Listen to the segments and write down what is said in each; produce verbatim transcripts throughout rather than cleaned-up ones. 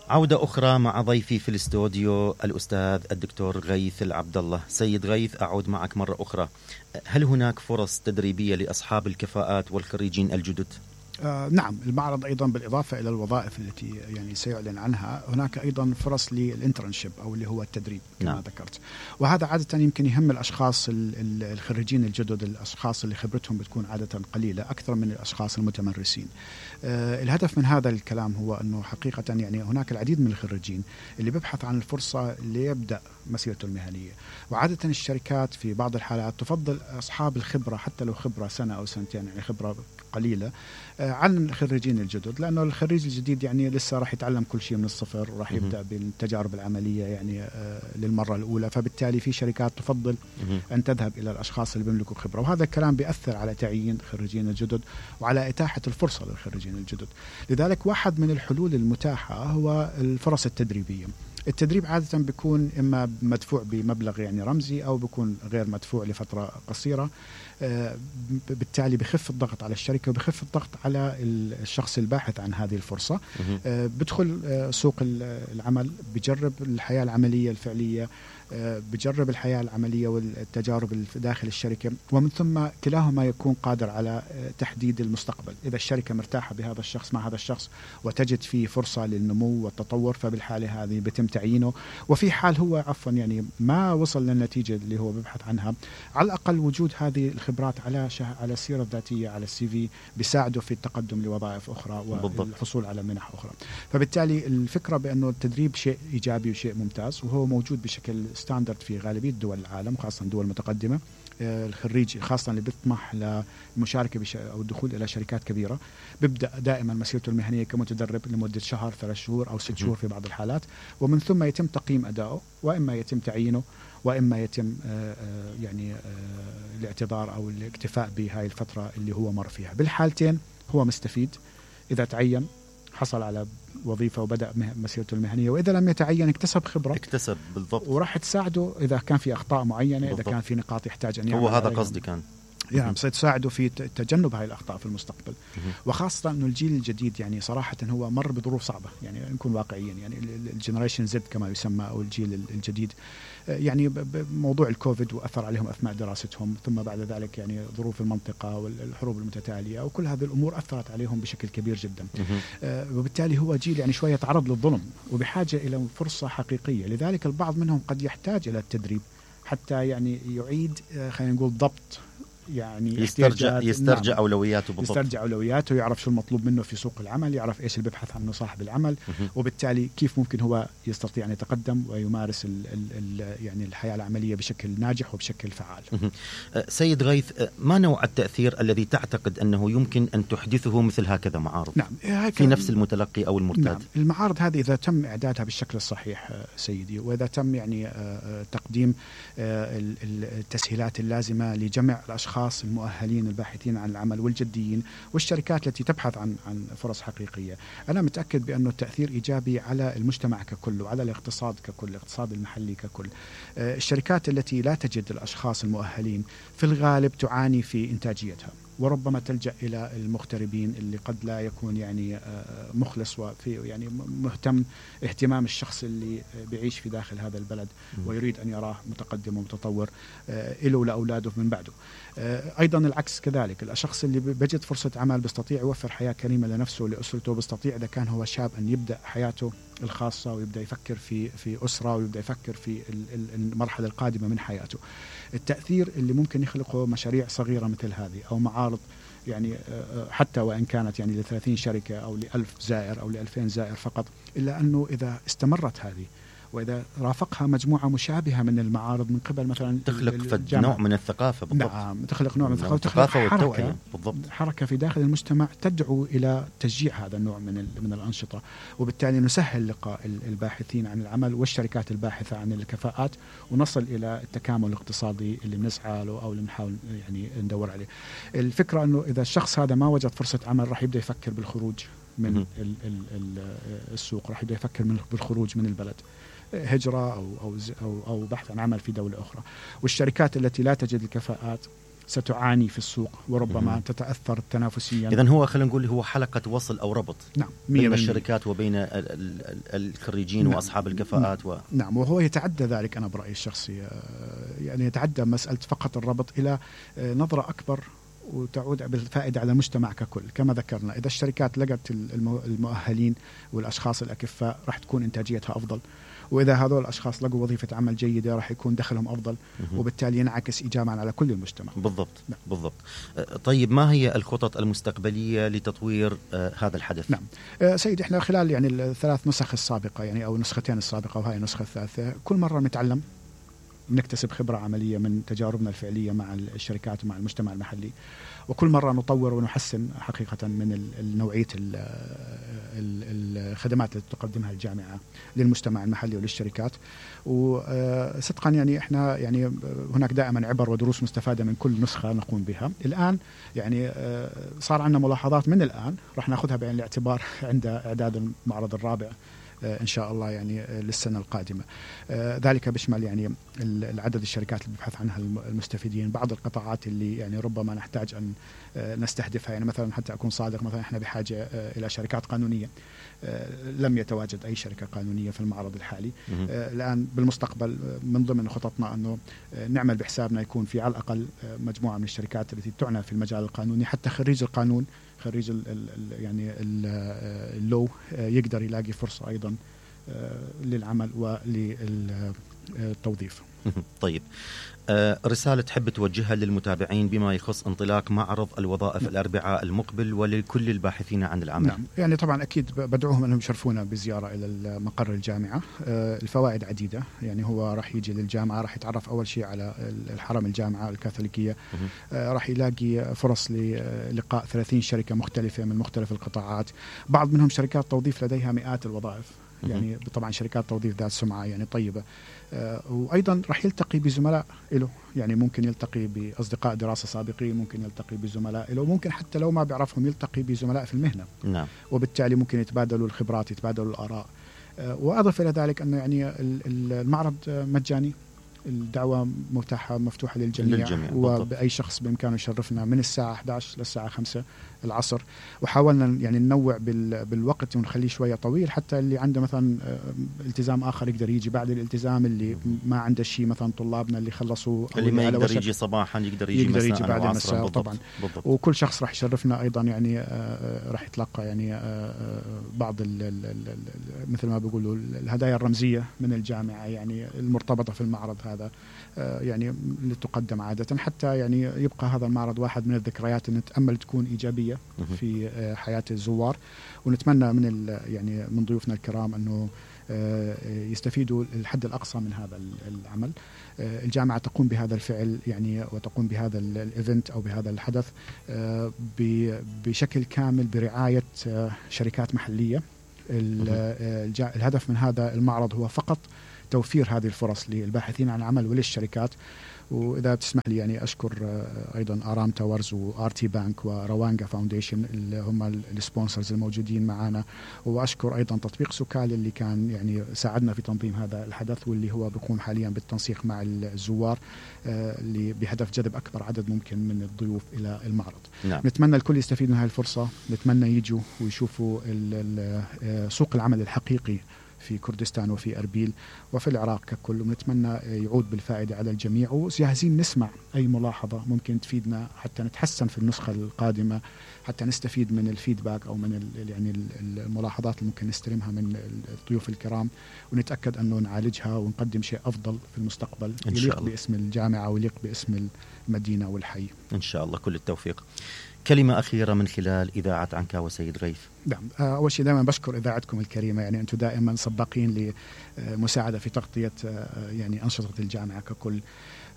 عودة أخرى مع ضيفي في الاستوديو الأستاذ الدكتور غيث العبد الله. سيد غيث، أعود معك مرة أخرى. هل هناك فرص تدريبية لأصحاب الكفاءات والخريجين الجدد؟ آه نعم، المعرض أيضا بالإضافة إلى الوظائف التي يعني سيعلن عنها، هناك أيضا فرص للإنترنشيب أو اللي هو التدريب كما نعم. ذكرت، وهذا عادة يمكن يهم الأشخاص الخريجين الجدد، الأشخاص اللي خبرتهم بتكون عادة قليلة أكثر من الأشخاص المتمرسين. آه الهدف من هذا الكلام هو أنه حقيقة يعني هناك العديد من الخريجين اللي بيبحث عن الفرصة ليبدأ مسيرته المهنية، وعادة الشركات في بعض الحالات تفضل أصحاب الخبرة حتى لو خبرة سنة أو سنتين، يعني خبرة قليلة عن الخريجين الجدد، لأنه الخريج الجديد يعني لسه راح يتعلم كل شيء من الصفر وراح يبدأ بالتجارب العملية يعني للمرة الأولى، فبالتالي في شركات تفضل أن تذهب إلى الأشخاص اللي بيملكوا خبرة، وهذا الكلام بيأثر على تعيين الخريجين الجدد وعلى إتاحة الفرصة للخريجين الجدد. لذلك واحد من الحلول المتاحة هو الفرص التدريبية. التدريب عادة بيكون إما مدفوع بمبلغ يعني رمزي أو بيكون غير مدفوع لفترة قصيرة، بالتالي بخف الضغط على الشركة وبخف الضغط على الشخص الباحث عن هذه الفرصة. بدخل سوق العمل، بجرب الحياة العملية الفعلية، بجرب الحياة العملية والتجارب داخل الشركة، ومن ثم كلاهما يكون قادر على تحديد المستقبل. إذا الشركة مرتاحة بهذا الشخص مع هذا الشخص وتجد فيه فرصة للنمو والتطور، فبالحالة هذه بتم تعيينه. وفي حال هو عفوا يعني ما وصل للنتيجة اللي هو بيبحث عنها، على الأقل وجود هذه الخبرات على شه... على السيرة الذاتية، على السي في، بيساعده في التقدم لوظائف أخرى والحصول على منح أخرى. فبالتالي الفكرة بأنه التدريب شيء إيجابي وشيء ممتاز، وهو موجود بشكل ستاندرد في غالبية دول العالم، خاصة دول متقدمة. الخريج خاصة اللي بيطمح للمشاركة بش... أو الدخول إلى شركات كبيرة بيبدأ دائما مسيرته المهنية كمتدرب لمدة شهر، ثلاث شهور أو ست شهور في بعض الحالات، ومن ثم يتم تقييم أدائه، وإما يتم تعيينه وإما يتم يعني الاعتذار أو الاكتفاء بهاي الفترة اللي هو مر فيها. بالحالتين هو مستفيد، إذا تعين حصل على وظيفة وبدأ مسيرته المهنية، وإذا لم يتعين اكتسب خبرة، اكتسب بالضبط، وراح تساعده إذا كان في أخطاء معينة بالضبط. إذا كان في نقاط يحتاج أن يعمل، هو هذا قصدي كان يعني سيتساعده في تجنب هاي الأخطاء في المستقبل. وخاصة أنه الجيل الجديد يعني صراحة هو مر بظروف صعبة، يعني نكون واقعيين، يعني الجنريشن زد كما يسمى أو الجيل الجديد، يعني موضوع الكوفيد وأثر عليهم أثناء دراستهم، ثم بعد ذلك يعني ظروف المنطقة والحروب المتتالية وكل هذه الأمور أثرت عليهم بشكل كبير جدا. وبالتالي هو جيل يعني شوية تعرض للظلم وبحاجة إلى فرصة حقيقية. لذلك البعض منهم قد يحتاج إلى التدريب حتى يعني يعيد خلينا نقول ضبط، يعني يسترجع يسترجع نعم. أولوياته بالضبط. يسترجع أولوياته، يعرف شو المطلوب منه في سوق العمل، يعرف إيش اللي بيبحث عنه صاحب العمل، وبالتالي كيف ممكن هو يستطيع أن يتقدم ويمارس ال ال يعني الحياة العملية بشكل ناجح وبشكل فعال. سيد غيث، ما نوع التأثير الذي تعتقد أنه يمكن أن تحدثه مثل هكذا معارض نعم. في نفس المتلقي أو المرتاد؟ نعم. المعارض هذه إذا تم إعدادها بالشكل الصحيح سيدي، وإذا تم يعني تقديم التسهيلات اللازمة لجمع الأشخاص المؤهلين الباحثين عن العمل والجديين والشركات التي تبحث عن عن فرص حقيقية، أنا متأكد بأنه التأثير إيجابي على المجتمع ككل وعلى الاقتصاد ككل، الاقتصاد المحلي ككل. الشركات التي لا تجد الأشخاص المؤهلين في الغالب تعاني في إنتاجيتها، وربما تلجأ إلى المغتربين اللي قد لا يكون يعني مخلص وفي يعني مهتم اهتمام الشخص اللي بيعيش في داخل هذا البلد ويريد أن يراه متقدم ومتطور له ولأولاده من بعده. أيضا العكس كذلك، الشخص اللي بيجد فرصة عمل بيستطيع يوفر حياة كريمة لنفسه ولأسرته، بيستطيع إذا كان هو شاب أن يبدأ حياته الخاصة ويبدأ يفكر في في أسرة ويبدأ يفكر في المرحلة القادمة من حياته. التأثير اللي ممكن يخلقه مشاريع صغيرة مثل هذه أو معارض، يعني حتى وإن كانت يعني لثلاثين شركة أو لألف زائر أو لألفين زائر فقط، إلا أنه إذا استمرت هذه وإذا رافقها مجموعة مشابهة من المعارض من قبل مثلا تخلق نوع من الثقافة بالضبط. نعم، تخلق نوع من الثقافة، تخلق حركة بالضبط. حركة في داخل المجتمع تدعو إلى تشجيع هذا النوع من من الأنشطة، وبالتالي نسهل لقاء الباحثين عن العمل والشركات الباحثة عن الكفاءات، ونصل إلى التكامل الاقتصادي اللي بنسعى له أو اللي بنحاول يعني ندور عليه. الفكرة أنه إذا الشخص هذا ما وجد فرصة عمل راح يبدأ يفكر بالخروج من ال ال السوق، راح يبدأ يفكر بالخروج من البلد، هجرة أو, أو, أو, أو بحث عن عمل في دولة أخرى. والشركات التي لا تجد الكفاءات ستعاني في السوق وربما تتأثر تنافسيا. إذن هو خلينا نقول هو حلقة وصل أو ربط نعم بين الشركات وبين الخريجين نعم وأصحاب الكفاءات و... نعم وهو يتعدى ذلك أنا برأيي الشخصي، يعني يتعدى مسألة فقط الربط إلى نظرة أكبر وتعود بالفائدة على المجتمع ككل. كما ذكرنا إذا الشركات لقت المؤهلين والأشخاص الأكفاء راح تكون إنتاجيتها أفضل، وإذا هذول الأشخاص لقوا وظيفة عمل جيدة راح يكون دخلهم أفضل وبالتالي ينعكس إيجابا على كل المجتمع. بالضبط نعم. بالضبط. طيب ما هي الخطط المستقبلية لتطوير آه هذا الحدث؟ نعم آه سيد إحنا خلال يعني الثلاث نسخ السابقة يعني أو النسختين السابقة وهي النسخة الثالثة كل مرة نتعلم نكتسب خبرة عملية من تجاربنا الفعلية مع الشركات ومع المجتمع المحلي، وكل مرة نطور ونحسن حقيقة من نوعية الخدمات التي تقدمها الجامعة للمجتمع المحلي وللشركات. وصدقا يعني احنا يعني هناك دائما عبر ودروس مستفادة من كل نسخة نقوم بها. الآن يعني صار عندنا ملاحظات من الآن راح ناخذها بعين الاعتبار عند إعداد المعرض الرابع إن شاء الله يعني للسنة القادمة. ذلك بيشمل يعني العدد الشركات اللي ببحث عنها المستفيدين، بعض القطاعات اللي يعني ربما نحتاج أن نستهدفها. يعني مثلا حتى أكون صادق مثلا إحنا بحاجة إلى شركات قانونية، لم يتواجد أي شركة قانونية في المعرض الحالي. الآن بالمستقبل من ضمن خططنا أنه نعمل بحسابنا يكون في على الأقل مجموعة من الشركات التي تعنى في المجال القانوني، حتى خريج القانون خريج ال ال يعني اللو يقدر يلاقي فرصة أيضا للعمل وللتوظيف. طيب آه رسالة تحب توجهها للمتابعين بما يخص انطلاق معرض الوظائف نعم. الأربعاء المقبل ولكل الباحثين عن العمل؟ نعم يعني طبعا أكيد بدعوهم أنهم يشرفونا بزيارة إلى مقر الجامعة. آه الفوائد عديدة، يعني هو راح يجي للجامعة راح يتعرف أول شيء على الحرم الجامعة الكاثوليكية، آه راح يلاقي فرص للقاء ثلاثين شركة مختلفة من مختلف القطاعات، بعض منهم شركات توظيف لديها مئات الوظائف، يعني طبعا شركات توظيف ذات سمعة يعني طيبة. آه وأيضا راح يلتقي بزملاء له، يعني ممكن يلتقي بأصدقاء دراسة سابقين، ممكن يلتقي بزملاء له، ممكن حتى لو ما بيعرفهم يلتقي بزملاء في المهنة. نعم. وبالتالي ممكن يتبادلوا الخبرات يتبادلوا الآراء. آه وأضف إلى ذلك أنه يعني المعرض مجاني، الدعوة متاحة مفتوحة للجميع, للجميع. وبأي شخص بإمكانه يشرفنا من الساعة إحدى عشر للساعة خمسة العصر. وحاولنا يعني ننوع بالوقت ونخليه شوية طويل حتى اللي عنده مثلا التزام آخر يقدر يجي بعد الالتزام، اللي ما عنده شيء مثلا طلابنا اللي خلصوا اللي ما يقدر يجي صباحا يقدر يجي, يقدر يجي بعد المساء. بالضبط. طبعا بالضبط. وكل شخص راح يشرفنا أيضا يعني آه راح يتلقى يعني آه بعض ال ال ال مثل ما بيقولوا الهدايا الرمزية من الجامعة يعني المرتبطة في المعرض هذا، آه يعني اللي تقدم عادة، حتى يعني يبقى هذا المعرض واحد من الذكريات اللي نتأمل تكون إيجابية في حياة الزوار. ونتمنى من يعني من ضيوفنا الكرام أنه يستفيدوا الحد الأقصى من هذا العمل. الجامعة تقوم بهذا الفعل يعني وتقوم بهذا الإيفنت أو بهذا الحدث بشكل كامل برعاية شركات محلية. الهدف من هذا المعرض هو فقط توفير هذه الفرص للباحثين عن العمل وللشركات. وإذا تسمح لي يعني أشكر أيضا آرام تاورز وآر تي بانك وروانجا فاونديشن اللي هم السبونسرز الموجودين معنا، وأشكر أيضا تطبيق سوكال اللي كان يعني ساعدنا في تنظيم هذا الحدث واللي هو بيقوم حاليا بالتنسيق مع الزوار اللي بهدف جذب أكبر عدد ممكن من الضيوف إلى المعرض. نعم. نتمنى الكل يستفيد من هذه الفرصة، نتمنى يجوا ويشوفوا سوق العمل الحقيقي في كردستان وفي أربيل وفي العراق ككل، ونتمنى يعود بالفائدة على الجميع. وجاهزين نسمع أي ملاحظة ممكن تفيدنا حتى نتحسن في النسخة القادمة، حتى نستفيد من الفيدباك أو من يعني الملاحظات اللي ممكن نستلمها من الضيوف الكرام، ونتأكد أنه نعالجها ونقدم شيء أفضل في المستقبل يليق باسم الجامعة ويليق باسم المدينة والحي إن شاء الله. كل التوفيق. كلمة أخيرة من خلال إذاعة عنكاوة سيد غيث. نعم، أول شيء دائما بشكر إذاعتكم الكريمة، يعني أنتم دائما سباقين لمساعدة في تغطية يعني أنشطة الجامعة ككل.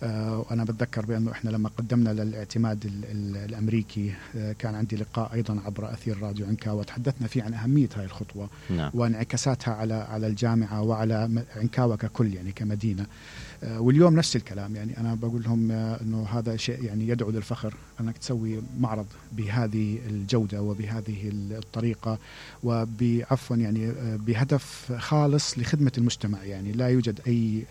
وأنا بتذكر بأنه إحنا لما قدمنا للاعتماد ال ال الأمريكي كان عندي لقاء أيضا عبر أثير راديو عنكاوة تحدثنا فيه عن أهمية هذه الخطوة. نعم. وانعكاساتها على على الجامعة وعلى عنكاوة ككل يعني كمدينة. واليوم نفس الكلام، يعني أنا بقول لهم أنه هذا شيء يعني يدعو للفخر أنك تسوي معرض بهذه الجودة وبهذه الطريقة وبعفوا يعني بهدف خالص لخدمة المجتمع، يعني لا يوجد أي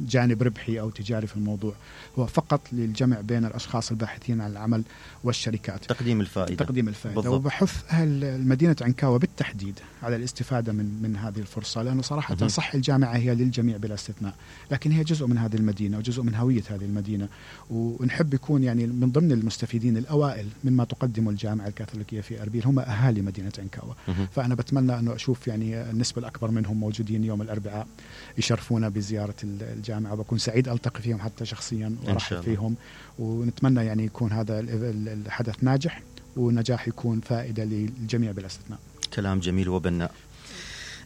جانب ربحي أو تجاري تجاري في الموضوع، هو فقط للجمع بين الأشخاص الباحثين عن العمل والشركات، تقديم الفائدة تقديم الفائدة بالضبط. وبحث أهل مدينة عنكاوة بالتحديد على الاستفادة من من هذه الفرصة، لأنه صراحة م- صح الجامعة هي للجميع بلا استثناء، لكن هي جزء من هذه المدينة وجزء من هوية هذه المدينة، ونحب يكون يعني من ضمن المستفيدين الأوائل مما تقدمه الجامعة الكاثوليكية في أربيل هم أهالي مدينة عنكاوة. م- فأنا بتمنى أنه أشوف يعني النسبة الأكبر منهم موجودين يوم الأربعاء يشرفونا بزيارة الجامعة، وبكون سعيد ألتقي فيهم حتى شخصيا وأرحب فيهم، ونتمنى يعني يكون هذا الحدث ناجح ونجاح يكون فائدة للجميع بلا استثناء. كلام جميل وبناء.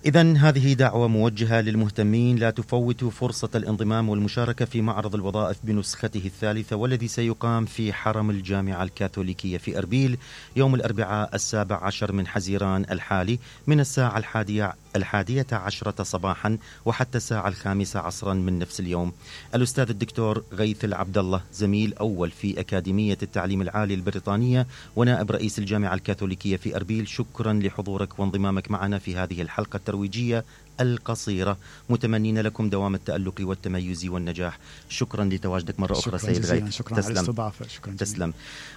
إذن هذه دعوة موجهة للمهتمين، لا تفوتوا فرصة الانضمام والمشاركة في معرض الوظائف بنسخته الثالثة، والذي سيقام في حرم الجامعة الكاثوليكية في أربيل يوم الأربعاء السابع عشر من حزيران الحالي من الساعة الحادية الحادية عشرة صباحا وحتى الساعة الخامسة عصرا من نفس اليوم. الأستاذ الدكتور غيث العبد الله، زميل أول في أكاديمية التعليم العالي البريطانية ونائب رئيس الجامعة الكاثوليكية في أربيل، شكرا لحضورك وانضمامك معنا في هذه الحلقة الترويجية القصيرة، متمنين لكم دوام التألق والتميز والنجاح. شكرا لتواجدك مرة أخرى سيد غيث. شكرا تسلم. على الاستضافة. شكرا تسلم.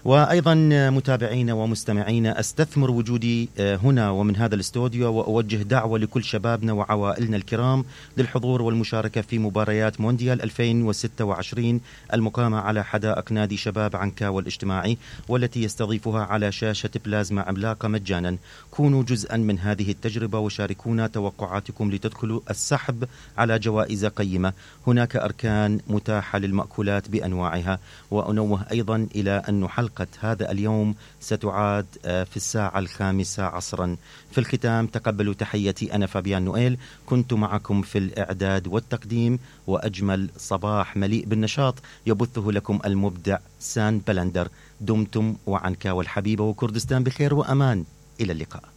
وأيضا متابعينا ومستمعينا، أستثمر وجودي هنا ومن هذا الاستوديو وأوجه دعوة لكل شبابنا وعوائلنا الكرام للحضور والمشاركة في مباريات مونديال ألفين وستة وعشرين المقامة على حدائق نادي شباب عنكاوة الاجتماعي، والتي يستضيفها على شاشة بلازما عملاقة مجانا. كونوا جزءا من هذه التجربة وشاركونا توقعاتكم لتدخلوا السحب على جوائز قيمة. هناك أركان متاحة للمأكولات بأنواعها. وأنوه أيضا إلى أن حلقة هذا اليوم ستعاد في الساعة الخامسة عصرا. في الختام تقبلوا تحياتي، أنا فابيان نويل، كنت معكم في الإعداد والتقديم، وأجمل صباح مليء بالنشاط يبثه لكم المبدع سان بلندر. دمتم وعنكاوة الحبيبة وكردستان بخير وأمان. إلى اللقاء.